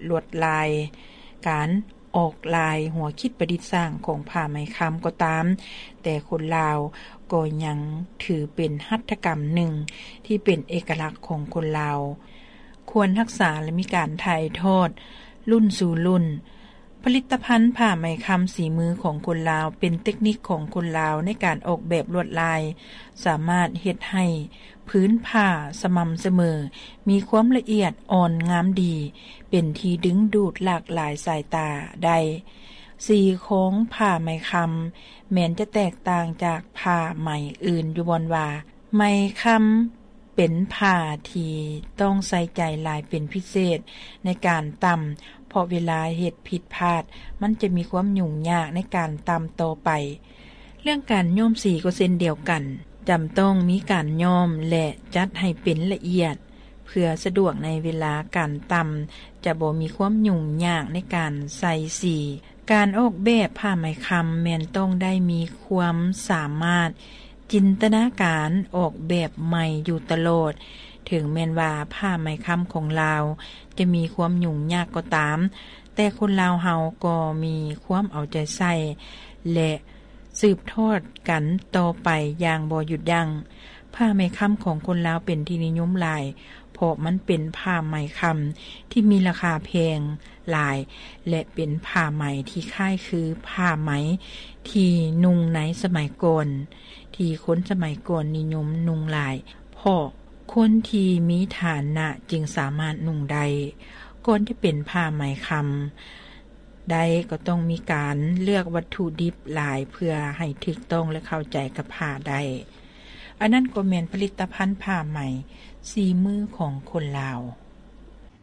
ລວດລາຍ ການອອກລາຍຫົວຄິດປະດິດສ້າງຂອງຜ້າໄໝຄຳກໍຕາມ, ແຕ່ຄົນລາວກໍຍັງຖືເປັນຫັດຖະກຳໜຶ່ງທີ່ເປັນເອກະລັກຂອງຄົນລາວ, ຄວນຮັກສາ ແລະ ມີການຖ່າຍທອດລຸ້ນສູ່ລຸ້ນ. ຜະລິດຕະພັນຜ້າໄໝຄຳສີມືຂອງຄົນລາວ ເປັນເຕັກນິກຂອງຄົນລາວໃນການອອກແບບລວດລາຍ, ສາມາດເຮັດໃຫ້ ພື້ນຜ້າສະໝ່ຳສະເໝີ, ມີຄວາມລະອຽດອ່ອນງາມດີ, ເປັນທີ່ດຶງດູດຫຼາກຫຼາຍສາຍຕາໄດ້. ສີຂອງຜ້າໄໝຄຳແມ່ນຈະແຕກຕ່າງຈາກຜ້າໄໝອື່ນຢູ່ບ່ອນວ່າ ໄໝຄຳເປັນຜ້າທີ່ຕ້ອງໃສ່ໃຈຫຼາຍເປັນພິເສດໃນການຕ່ຳ, ເພາະເວລາເຮັດຜິດພາດ, ມັນຈະມີຄວາມຫຍຸ້ງຍາກໃນການຕ່ຳຕໍ່ໄປ. ເລື່ອງການຍ້ອມສີກໍເຊັ່ນດຽວກັນ, ຈຳຕ້ອງມີການຍ້ອມ ແລະ ຈັດໃຫ້ເປັນລະອຽດ ເພື່ອສະດວກໃນເວລາການຕ່ຳ, ຈະບໍ່ມີຄວາມຫຍຸ້ງຍາກໃນການໃສ່ສີ. ການອອກແບບຜ້າໄໝຄຳແມ່ນຕ້ອງໄດ້ມີຄວາມສາມາດຈິນຕະນາການອອກແບບໃໝ່ຢູ່ຕະຫຼອດ. ເຖິງແມ່ນວ່າຜ້າໄໝຄຳຂອງລາວຈະມີຄວາມຫຍຸ້ງຍາກກໍຕາມ, ແຕ່ຄົນລາວເຮົາກໍມີຄວາມເອົາໃຈໃສ່ ແລະ ສືບທອດກັນຕໍ່ໄປຢ່າງບໍ່ຢຸດຢັ້ງ. ຜ້າໄໝຄຳຂອງຄົນລາວເປັນທີ່ນິຍົມຫຼາຍ ເພາະມັນເປັນຜ້າໄໝຄຳທີ່ມີລາຄາແພງຫຼາຍ ແລະ ເປັນຜ້າໄໝທີ່ຄ້າຍຄືຜ້າໄໝທີ່ນຸ່ງໃນສະໄໝກ່ອນ, ທີ່ຄົນສະໄໝກ່ອນນິຍົມນຸ່ງຫຼາຍ, ເພາະຄົນທີ່ມີຖານະຈຶ່ງສາມາດນຸ່ງໄດ້. ກ່ອນຈະເປັນຜ້າໄໝຄຳ ໄດ້ກໍຕ້ອງມີການເລືອກວັດຖຸດິບຫຼາຍເພື່ອໃຫ້ຖືກຕ້ອງ ແລະ ເຂົ້າໃຈກັບຜ້າໄດ້. ອັນນັ້ນກໍແມ່ນຜະລິດຕະພັນຜ້າໄໝສີມືຂອງຄົນລາວ.